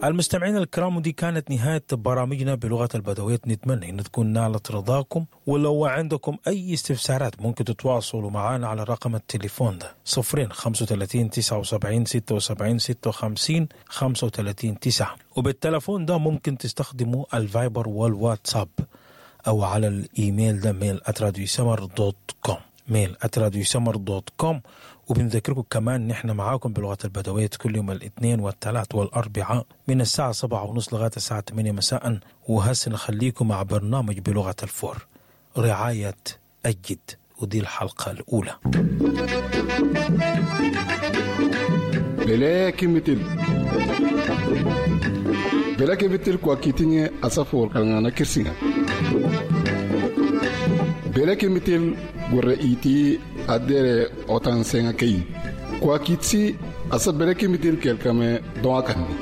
المستمعين الكرام، ودي كانت نهاية برامجنا بلغة البدوية. نتمنى أن تكون نالت رضاكم، ولو عندكم أي استفسارات ممكن تتواصلوا معنا على رقم التليفون ده 0 35 79 76 56 35 9، وبالتلفون ده ممكن تستخدموا الفايبر والواتساب، أو على الإيميل ده mail@radiosmr.com، mail@radiosmr.com. وبنذكركم كمان نحن معاكم بلغة البدوية كل يوم الاثنين والثلاث والأربعاء من الساعة 7:30 لغاية الساعة 8 مساء. وهسه نخليكم مع برنامج بلغة الفور، رعاية الجد، ودي الحلقة الأولى. Bele kimitil bele kimitil kwa kitinye asafo kalngana kirsinga bele kimitil gurre iti adere otan senga kei kwa kitsi asa bele kimitil kelkame doa kanni.